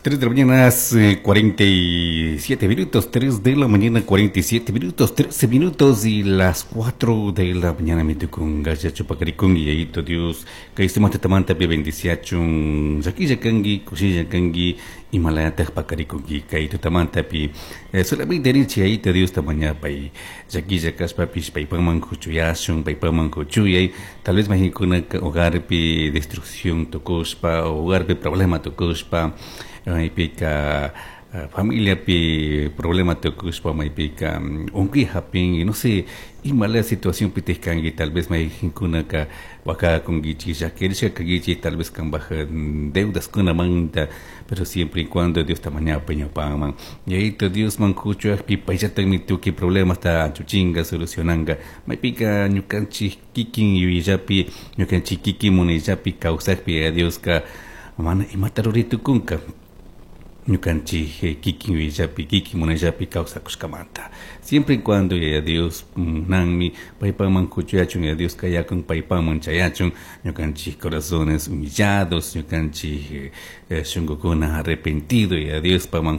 3 de la mañana, 47 minutos, 3 de la mañana, 47 minutos, 13 minutos y las 4 de la mañana, mi con gaya chupacaricun y ayito Dios, que estemos tamanta pi bendiciachun, llaquilla kangi, kushilla kangi, imalayataq pakarikunki, kay tutamantapi, solamente richi ayito Dios tamañapay, llaquilla kaspapish paypaman kuchuyashun, paypaman kuchuyay, tal vez mahinkuna hogarpi destrucción tukushpa, hogarpi problema tukushpa, maypika familiapi problema tukushpa, maypika unkuy hapin, no sé, imala situación pitihkanki, tal vez mayhinkunaka wakakunkichik, llakirishka kankichik, tal vez kanpaj deudas kunamanta, pero siempre y cuando Dios tamañapa ñawpaman, yayito Diosman kuchuyakpi payllatakmi tukuy problemasta anchuchinga, solucionanga, maypika ñukanchik kikin yuyayllapi, ñukanchik kikin munayllapi kawsakpi Yaya Dioska mana imata ruray tukunka, ñukanchik kikin yuyayllapi, kikin munayllapi kawsakushkamanta. Siempre y cuando Yaya Dios munanmi paypaman kuchuyachun, Yaya Dios kayakun paypaman chayachun, ñukanchik corazones humillados, ñukanchik shunkukuna arrepentido, Yaya Dios paman.